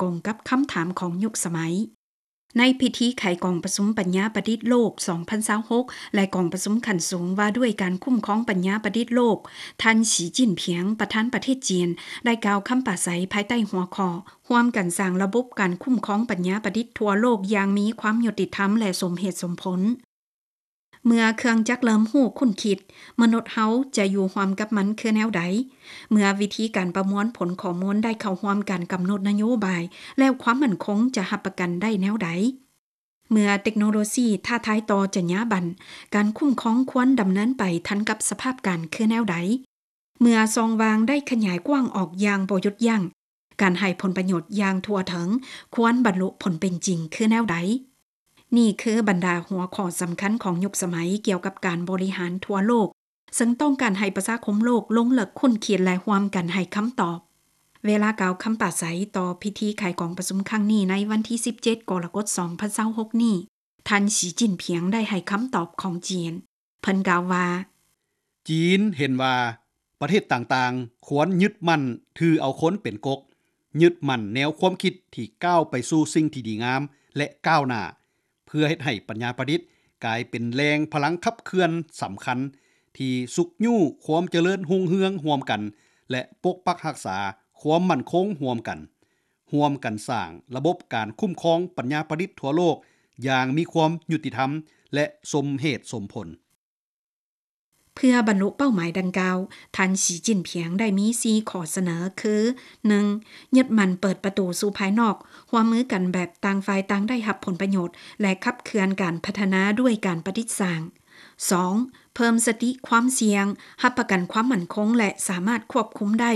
ກົງກັບຄຳຖາມຂອງຍຸກສະໄໝ. ໃນພິທີໄຂກອງປະຊຸມປັນຍາປະດິດໂລກ ສອງພັນຊາວຫົກ ແລະ ກອງປະຊຸມຂັ້ນສູງວ່າດ້ວຍການຄຸ້ມຄອງປັນຍາປະດິດໂລກ, ທ່ານ ສີ ຈິ້ນຜິງ ປະທານປະເທດຈີນ ໄດ້ກ່າວຄຳປາໄສພາຍໃຕ້ຫົວຂໍ້ ຮ່ວມກັນສ້າງລະບົບການຄຸ້ມຄອງປັນຍາປະດິດທົ່ວໂລກຢ່າງມີຄວາມຍຸຕິທຳ ແລະ ສົມເຫດສົມຜົນ. ເມື່ອເຄື່ອງຈັກເລີ່ມຮູ້ຄົ້ນຄິດ, ມະນຸດເຮົາຈະຢູ່ຮ່ວມກັບມັນຄືແນວໃດ? ເມື່ອວິທີການປະມວນຜົນຂໍ້ມູນໄດ້ເຂົ້າຮ່ວມການກຳນົດນະໂຍບາຍ, ແລ້ວຄວາມໝັ້ນຄົງຈະຮັບປະກັນໄດ້ແນວໃດ? ເມື່ອເຕັກໂນໂລຊີທ້າທາຍຕໍ່ຈັນຍາບັນ, ການຄຸ້ມຄອງຄວນດຳເນີນໄປທັນກັບສະພາບການຄືແນວໃດ? ເມື່ອຊ່ອງວ່າງໄດ້ຂະຫຍາຍກວ້າງອອກຢ່າງບໍ່ຢຸດຢັ້ງ, ການໃຫ້ຜົນປະໂຫຍດຢ່າງທົ່ວເຖິງຄວນບັນລຸຜົນເປັນຈິງຄືແນວໃດ? ນີ້ຄືບັນດາຫົວຂໍ້ສຳຄັນຂອງຍຸກສະໄໝກ່ຽວກັບການບໍລິຫານທົ່ວໂລກ, ເຊິ່ງຕ້ອງການໃຫ້ປະຊາຄົມໂລກລົງເລິກຄົ້ນຄິດ ແລະ ຮ່ວມກັນໃຫ້ຄຳຕອບ. ເວລາກ່າວຄຳປາໄສຕໍ່ພິທີໄຂກອງປະຊຸມຄັ້ງນີ້ໃນວັນທີສິບເຈັດ ກໍລະກົດ ສອງພັນຊາວຫົກນີ້, ທ່ານ ສີ ຈິ້ນຜິງ ໄດ້ໃຫ້ຄຳຕອບຂອງຈີນ. ເພິ່ນກ່າວວ່າ, ຈີນເຫັນວ່າປະເທດຕ່າງໆຄວນຍຶດໝັ້ນຖືເອົາຄົນເປັນກົກ, ຍຶດໝັ້ນແນວຄວາມຄິດທີ່ກ້າວໄປສູ່ສິ່ງທີ່ດີງາມ ແລະ ກ້າວໜ້າ, ເພື່ອເຮັດໃຫ້ປັນຍາປະດິດກາຍເປັນແຫຼ່ງພະລັງຂັບເຄື່ອນສຳຄັນ ທີ່ຊຸກຍູ້ຄວາມຈະເລີນຮຸ່ງເຮືອງຮ່ວມກັນ ແລະ ປົກປັກຮັກສາຄວາມໝັ້ນຄົງຮ່ວມກັນ, ຮ່ວມກັນສ້າງລະບົບການຄຸ້ມຄອງປັນຍາປະດິດທົ່ວໂລກຢ່າງມີຄວາມຍຸຕິທຳ ແລະ ສົມເຫດສົມຜົນ. ເພື່ອບັນລຸເປົ້າໝາຍດັ່ງກ່າວ, ທ່ານ ສີ ຈິ້ນຜິງ ໄດ້ມີສີ່ຂໍ້ສະເໜີຄື, ໜຶ່ງ, ຍຶດໝັ້ນເປີດປະຕູສູ່ພາຍນອກ, ຮ່ວມມືກັນແບບຕ່າງຝ່າຍຕ່າງໄດ້ຮັບຜົນປະໂຫຍດ ແລະ ຂັບເຄື່ອນການພັດທະນາດ້ວຍການປະດິດສ້າງ. ສອງ, ເພີ່ມສະຕິຄວາມສ່ຽງ, ຮັບປະກັນຄວາມໝັ້ນຄົງ ແລະ ສາມາດຄວບຄຸມໄດ້.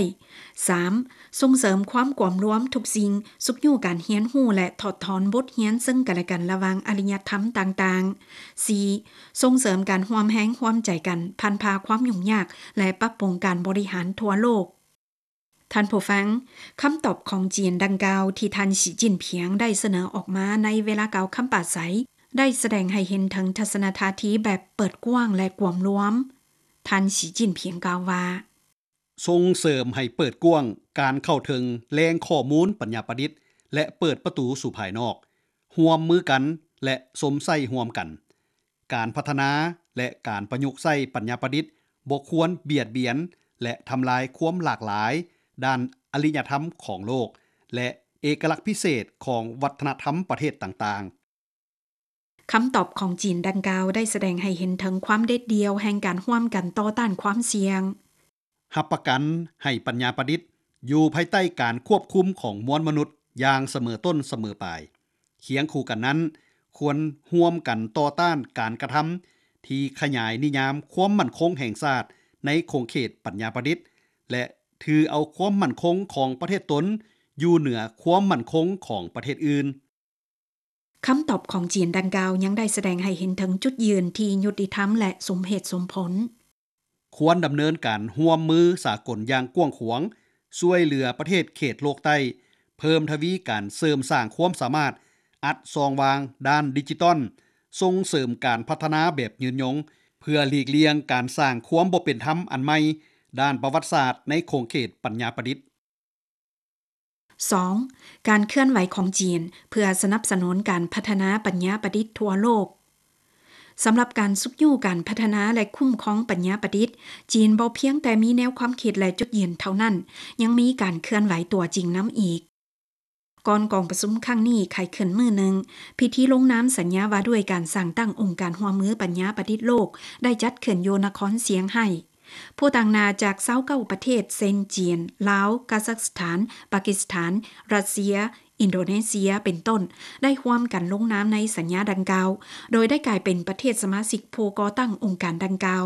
ສາມ, ສົ່ງເສີມຄວາມກວມລວມທຸກສິ່ງ, ຊຸກຍູ້ການຮຽນຮູ້ ແລະ ຖອດຖອນບົດຮຽນເຊິ່ງກັນແລະກັນລະຫວ່າງອາລິຍະທຳຕ່າງໆ. ສີ່, ສົ່ງເສີມການຮ່ວມແຮງຮ່ວມໃຈກັນ, ຜ່ານຜ່າຄວາມຫຍຸ້ງຍາກ ແລະ ປັບປຸງການບໍລິຫານທົ່ວໂລກ. ທ່ານຜູ້ຟັງ, ຄຳຕອບຂອງຈີນດັ່ງກ່າວທີ່ທ່ານ ສີ ຈິ້ນຜິງ ໄດ້ສະເໜີອອກມາໃນເວລາກ່າວຄຳປາໄສ ໄດ້ສະແດງໃຫ້ເຫັນເຖິງທັດສະນະທ່າທີແບບເປີດກວ້າງ ແລະ ກວມລວມ. ທ່ານ ສີ ຈິ້ນຜິງ ກ່າວວ່າ, ສົ່ງເສີມໃຫ້ເປີດກວ້າງການເຂົ້າເຖິງແຫຼ່ງຂໍ້ມູນປັນຍາປະດິດ ແລະ ເປີດປະຕູສູ່ພາຍນອກ, ຮ່ວມມືກັນ ແລະ ຊົມໃຊ້ຮ່ວມກັນ. ການພັດທະນາ ແລະ ການປະຍຸກໃຊ້ປັນຍາປະດິດບໍ່ຄວນບຽດບຽນ ແລະ ທຳລາຍຄວາມຫຼາກຫຼາຍດ້ານອາລິຍະທຳຂອງໂລກ ແລະ ເອກະລັກພິເສດຂອງວັດທະນະທຳປະເທດຕ່າງໆ. ຄຳຕອບຂອງຈີນດັ່ງກ່າວໄດ້ສະແດງໃຫ້ເຫັນເຖິງຄວາມເດັດດ່ຽວແຫ່ງການຮ່ວມກັນຕໍ່ຕ້ານຄວາມສ່ຽງ. ຮັບປະກັນໃຫ້ປັນຍາປະດິດຢູ່ພາຍໃຕ້ການຄວບຄຸມຂອງມວນມະນຸດຢ່າງສະເໝີຕົ້ນສະເໝີປາຍ. ຄຽງຄູ່ກັນນັ້ນ, ຄວນຮ່ວມກັນຕໍ່ຕ້ານການກະທຳທີ່ຂະຫຍາຍນິຍາມຄວາມໝັ້ນຄົງແຫ່ງຊາດໃນຂົງເຂດປັນຍາປະດິດ ແລະ ຖືເອົາຄວາມໝັ້ນຄົງຂອງປະເທດຕົນຢູ່ເໜືອຄວາມໝັ້ນຄົງຂອງປະເທດອື່ນ. ຄຳຕອບຂອງຈີນດັ່ງກ່າວຍັງໄດ້ສະແດງໃຫ້ເຫັນເຖິງຈຸດຢືນທີ່ຍຸຕິທຳ ແລະ ສົມເຫດສົມຜົນ. ຄວນດຳເນີນການຮ່ວມມືສາກົນຢ່າງກວ້າງຂວາງ, ຊ່ວຍເຫຼືອປະເທດເຂດໂລກໃຕ້, ເພີ່ມທະວີການເສີມສ້າງຄວາມສາມາດ, ອັດຊ່ອງວ່າງດ້ານດິຈິຕອນ, ສົ່ງເສີມການພັດທະນາແບບຍືນຍົງ, ເພື່ອຫຼີກລ່ຽງການສ້າງຄວາມບໍ່ເປັນທຳອັນໃໝ່ດ້ານປະຫວັດສາດໃນຂົງເຂດປັນຍາປະດິດ. ສອງ, ການເຄື່ອນໄຫວຂອງຈີນເພື່ອສະໜັບສະໜູນການພັດທະນາປັນຍາປະດິດທົ່ວໂລກ. ສຳລັບການຊຸກຍູ້ການພັດທະນາ ແລະ ຄຸ້ມຄອງປັນຍາປະດິດ, ຈີນບໍ່ພຽງແຕ່ມີແນວຄວາມຄິດ ແລະ ຈຸດຢືນເທົ່ານັ້ນ, ຍັງມີການເຄື່ອນໄຫວຕົວຈິງນຳອີກ. ກ່ອນກອງປະຊຸມຄັ້ງນີ້ໄຂຂຶ້ນມື້ໜຶ່ງ, ພິທີລົງນາມສັນຍາວ່າດ້ວຍການສ້າງຕັ້ງອົງການຮ່ວມມືປັນຍາປະດິດໂລກ ໄດ້ຈັດຂຶ້ນຢູ່ນະຄອນຊຽງໄຮ້. ຜູ້ຕາງໜ້າຈາກຊາວເກົ້າປະເທດ ເຊັ່ນ ຈີນ, ລາວ, ກາຊັກສະຖານ, ປາກິສຖານ, ຣັດເຊຍ, ອິນໂດເນເຊຍ ເປັນຕົ້ນ ໄດ້ຮ່ວມກັນລົງນາມໃນສັນຍາດັ່ງກ່າວ, ໂດຍໄດ້ກາຍເປັນປະເທດສະມາຊິກຜູ້ກໍ່ຕັ້ງອົງການດັ່ງກ່າວ.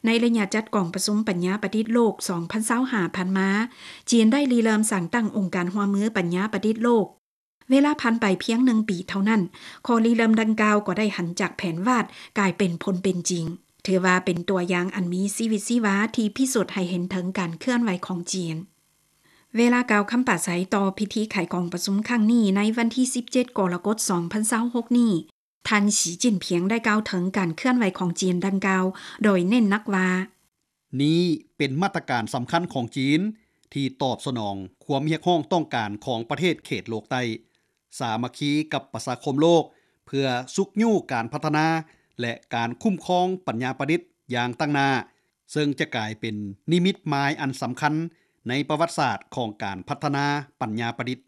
ໃນໄລຍະຈັດກອງປະຊຸມປັນຍາປະດິດໂລກ ສອງພັນຊາວຫ້າ ຜ່ານມາ, ຈີນໄດ້ລິເລີ່ມສ້າງຕັ້ງອົງການຮ່ວມມືປັນຍາປະດິດໂລກ. ເວລາຜ່ານໄປພຽງໜຶ່ງປີເທົ່ານັ້ນ, ຂໍ້ລິເລີ່ມດັ່ງກ່າວກໍໄດ້ຫັນຈາກແຜນວາດກາຍເປັນຜົນເປັນຈິງ. ຖືວ່າເປັນຕົວຢ່າງອັນມີຊີວິດຊີວາທີ່ພິສູດໃຫ້ເຫັນເຖິງການເຄື່ອນໄຫວຂອງຈີນ. ເວລາກ່າວຄຳປາໄສຕໍ່ພິທີໄຂກອງປະຊຸມຄັ້ງນີ້ໃນວັນທີສິບເຈັດ ກໍລະກົດ ສອງພັນຊາວຫົກນີ້, ທ່ານ ສີ ຈິ້ນຜິງ ໄດ້ກ່າວເຖິງການເຄື່ອນໄຫວຂອງຈີນດັ່ງກ່າວ, ໂດຍເນັ້ນໜັກວ່າ, ນີ້ເປັນມາດຕະການສຳຄັນຂອງຈີນ ທີ່ຕອບສະໜອງຄວາມຮຽກຮ້ອງຕ້ອງການຂອງປະເທດເຂດໂລກໃຕ້, ສາມັກຄີກັບປະຊາຄົມໂລກ ເພື່ອຊຸກຍູ້ການພັດທະນາ ແລະ ການຄຸ້ມຄອງປັນຍາປະດິດຢ່າງຕັ້ງໜ້າ, ເຊິ່ງຈະກາຍເປັນນິມິດໝາຍອັນສຳຄັນໃນປະຫວັດສາດຂອງການພັດທະນາປັນຍາປະດິດ.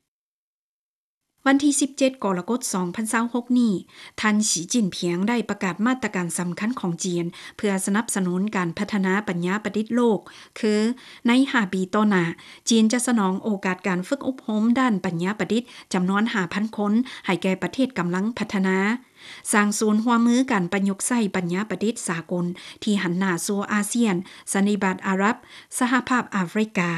ວັນທີສິບເຈັດ ກໍລະກົດ ສອງພັນຊາວຫົກນີ້, ທ່ານ ສີ ຈິ້ນຜິງ ໄດ້ປະກາດມາດຕະການສຳຄັນຂອງຈີນ ເພື່ອສະໜັບສະໜູນການພັດທະນາປັນຍາປະດິດໂລກ, ຄື ໃນຫ້າປີຕໍ່ໜ້າ, ຈີນຈະສະໜອງໂອກາດການຝຶກອົບຮົມດ້ານປັນຍາປະດິດຈຳນວນຫ້າພັນຄົນ ໃຫ້ແກ່ປະເທດກຳລັງພັດທະນາ, ສ້າງສູນຮ່ວມມືການປະຍຸກໃຊ້ປັນຍາປະດິດສາກົນ ທີ່ຫັນໜ້າສູ່ອາຊຽນ, ສັນນິບາດອາຣັບ, ສະຫະພາບອາຟຣິກາ,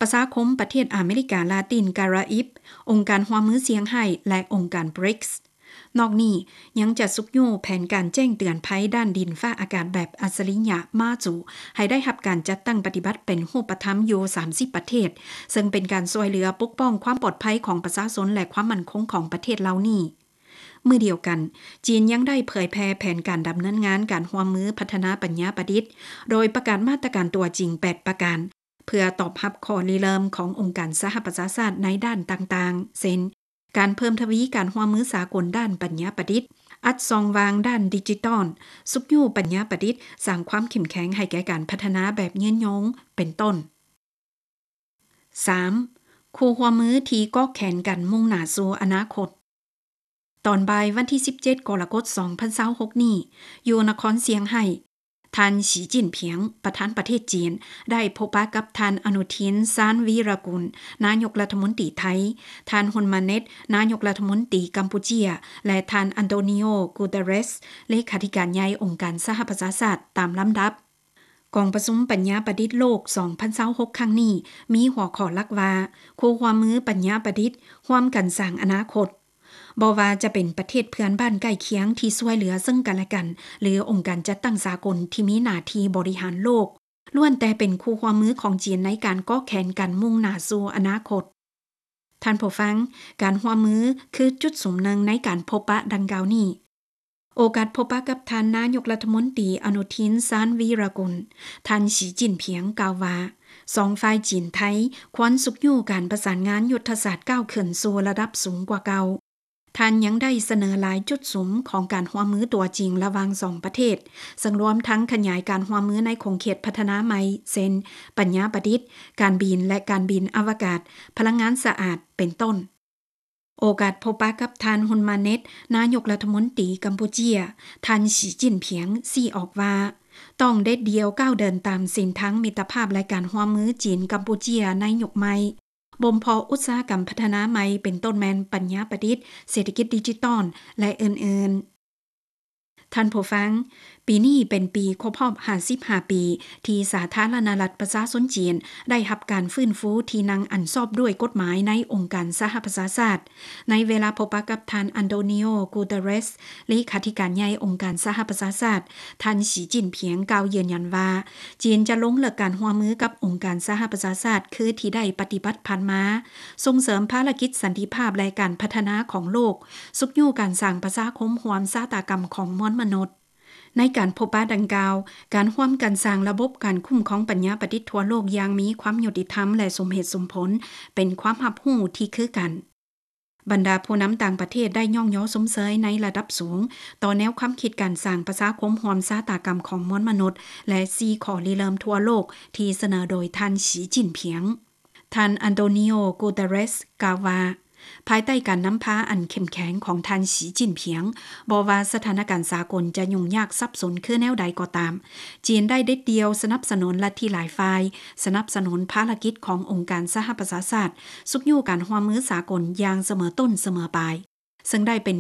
ປະຊາຄົມປະເທດອາເມລິກາລາຕິນກາຣາອິບ, ອົງການຮ່ວມມືຊຽງໄຮ້ ແລະ ອົງການ ບຣິກສ໌. ນອກນີ້, ຍັງຈະຊຸກຍູ້ແຜນການແຈ້ງເຕືອນໄພດ້ານດິນຟ້າອາກາດແບບອັດສະລິຍະ MAJU ໃຫ້ໄດ້ຮັບການຈັດຕັ້ງປະຕິບັດເປັນຮູບປະທຳຢູ່ສາມສິບປະເທດ, ເຊິ່ງເປັນການຊ່ວຍເຫຼືອປົກປ້ອງຄວາມປອດໄພຂອງປະຊາຊົນ ແລະ ຄວາມໝັ້ນຄົງຂອງປະເທດເຫຼົ່ານີ້. ມື້ດຽວກັນ, ຈີນຍັງໄດ້ເຜີຍແຜ່ແຜນການດຳເນີນງານການຮ່ວມມືພັດທະນາປັນຍາປະດິດ, ໂດຍປະກາດມາດຕະການຕົວຈິງແປດປະການ ເພື່ອຕອບຮັບຂໍ້ລິເລີ່ມຂອງອົງການສະຫະປະຊາຊາດໃນດ້ານຕ່າງໆ ເຊັ່ນ ການເພີ່ມທະວີການຮ່ວມມືສາກົນດ້ານປັນຍາປະດິດ, ອັດຊ່ອງວ່າງດ້ານດິຈິຕອນ, ຊຸກຍູ້ປັນຍາປະດິດ, ສ້າງຄວາມເຂັ້ມແຂງໃຫ້ແກ່ການພັດທະນາແບບຍືນຍົງ ເປັນຕົ້ນ. ສາມ, ຄູ່ຮ່ວມມືທີ່ເກາະແຂນກັນມຸ່ງໜ້າສູ່ອະນາຄົດ. ຕອນບ່າຍວັນທີສິບເຈັດ ກໍລະກົດ ສອງພັນຊາວຫົກນີ້, ຢູ່ນະຄອນຊຽງໄຮ້, ທ່ານ ສີ ຈິ້ນຜິງ ປະທານປະເທດຈີນ ໄດ້ພົບປະກັບທ່ານ ອະນຸທິນ ຊານວີຣະກຸນ ນາຍົກລັດຖະມົນຕີໄທ, ທ່ານ ຮຸນມາເນັດ ນາຍົກລັດຖະມົນຕີກຳປູເຈຍ ແລະ ທ່ານ ອັນໂຕນີໂອ ກູເຕເຣສ ເລຂາທິການໃຫຍ່ອົງການສະຫະປະຊາຊາດ ຕາມລຳດັບ. ກອງປະຊຸມປັນຍາປະດິດໂລກ ສອງພັນຊາວຫົກ ຄັ້ງນີ້ ມີຫົວຂໍ້ຫຼັກວ່າ ຄູ່ຮ່ວມມືປັນຍາປະດິດ ຮ່ວມກັນສ້າງອະນາຄົດ. ບໍ່ວ່າຈະເປັນປະເທດເພື່ອນບ້ານໃກ້ຄຽງທີ່ຊ່ວຍເຫຼືອເຊິ່ງກັນແລະກັນ ຫຼື ອົງການຈັດຕັ້ງສາກົນທີ່ມີໜ້າທີ່ບໍລິຫານໂລກ, ລ້ວນແຕ່ເປັນຄູ່ຮ່ວມມືຂອງຈີນໃນການເກາະແຂນກັນມຸ່ງໜ້າສູ່ອະນາຄົດ. ທ່ານຜູ້ຟັງ, ການຮ່ວມມືຄືຈຸດສຸມໜຶ່ງໃນການພົບປະດັ່ງກ່າວນີ້. ໂອກາດພົບປະກັບທ່ານນາຍົກລັດຖະມົນຕີ ອະນຸທິນ ຊານວີຣະກຸນ, ທ່ານ ສີ ຈິ້ນຜິງ ກ່າວວ່າ ສອງຝ່າຍຈີນໄທ ຄວນຊຸກຍູ້ການປະສານງານຍຸດທະສາດກ້າວຂຶ້ນສູ່ລະດັບສູງກວ່າເກົ່າ. ທ່ານຍັງໄດ້ສະເໜີຫຼາຍຈຸດສຸມຂອງການຮ່ວມມືຕົວຈິງລະຫວ່າງສອງປະເທດ, ເຊິ່ງລວມທັງຂະຫຍາຍການຮ່ວມມືໃນຂົງເຂດພັດທະນາໃໝ່ ເຊັ່ນ ປັນຍາປະດິດ, ການບິນ ແລະ ການບິນອະວະກາດ, ພະລັງງານສະອາດ ເປັນຕົ້ນ. ໂອກາດພົບປະກັບທ່ານ ຮຸນມາເນັດ ນາຍົກລັດຖະມົນຕີກຳປູເຈຍ, ທ່ານ ສີ ຈິ້ນຜິງ ຊີ້ອອກວ່າ ຕ້ອງເດັດດ່ຽວກ້າວເດີນຕາມເສັ້ນທາງມິດຕະພາບ ແລະ ການຮ່ວມມືຈີນ-ກຳປູເຈຍໃນຍຸກໃໝ່, ບົ່ມເພາະອຸດສາຫະກຳພັດທະນາໃໝ່ ເປັນຕົ້ນແມ່ນປັນຍາປະດິດ, ເສດຖະກິດດິຈິຕອນ ແລະ ອື່ນໆ. ທ່ານຜູ້ຟັງ, ປີນີ້ເປັນປີຄົບຮອບຫ້າສິບຫ້າປີ ທີ່ສາທາລະນະລັດປະຊາຊົນຈີນໄດ້ຮັບການຟື້ນຟູທີ່ນັ່ງອັນຊອບດ້ວຍກົດໝາຍໃນອົງການສະຫະປະຊາຊາດ. ໃນເວລາພົບປະກັບທ່ານ ອັນໂຕນີໂອ ກູເຕເຣສ ເລຂາທິການໃຫຍ່ອົງການສະຫະປະຊາຊາດ, ທ່ານ ສີ ຈິ້ນຜິງ ກ່າວຢືນຢັນວ່າ ຈີນຈະລົງເລິກການຮ່ວມມືກັບອົງການສະຫະປະຊາຊາດ ຄືທີ່ໄດ້ປະຕິບັດຜ່ານມາ, ສົ່ງເສີມພາລະກິດສັນຕິພາບ ແລະ ການພັດທະນາຂອງໂລກ, ຊຸກຍູ້ການສ້າງປະຊາຄົມຮ່ວມຊະຕາກຳຂອງມວນມະນຸດ. ໃນການພົບປະດັ່ງກ່າວ, ການຮ່ວມກັນສ້າງລະບົບການຄຸ້ມຄອງປັນຍາປະດິດທົ່ວໂລກຢ່າງມີຄວາມຍຸຕິທຳ ແລະ ສົມເຫດສົມຜົນ ເປັນຄວາມຮັບຮູ້ທີ່ຄືກັນ. ບັນດາຜູ້ນຳຕ່າງປະເທດໄດ້ຍ້ອງຍໍຊົມເຊີຍໃນລະດັບສູງຕໍ່ແນວຄວາມຄິດການສ້າງປະຊາຄົມຮ່ວມຊະຕາກຳຂອງມວນມະນຸດ ແລະ ສີ່ຂໍ້ລິເລີ່ມທົ່ວໂລກທີ່ສະເໜີໂດຍທ່ານ ສີ ຈິ້ນຜິງ. ທ່ານ ອັນໂຕນີໂອ ກູເຕເຣສ ກ່າວວ່າ ພາຍໃຕ້ການນຳພາອັນເຂັ້ມແຂງຂອງທ່ານ ສີ ຈິ້ນຜິງ, ບໍ່ວ່າສະຖານະການສາກົນຈະຫຍຸ້ງຍາກສັບສົນຄືແນວໃດກໍຕາມ, ຈີນໄດ້ເດັດດ່ຽວສະໜັບສະໜູນລັດທິຫຼາຍຝ່າຍ, ສະໜັບສະໜູນພາລະກິດຂອງອົງການສະຫະປະຊາຊາດ, ຊຸກຍູ້ການຮ່ວມມືສາກົນຢ່າງສະເໝີຕົ້ນສະເໝີປາຍ, ເຊິ່ງໄດ້ເປັນ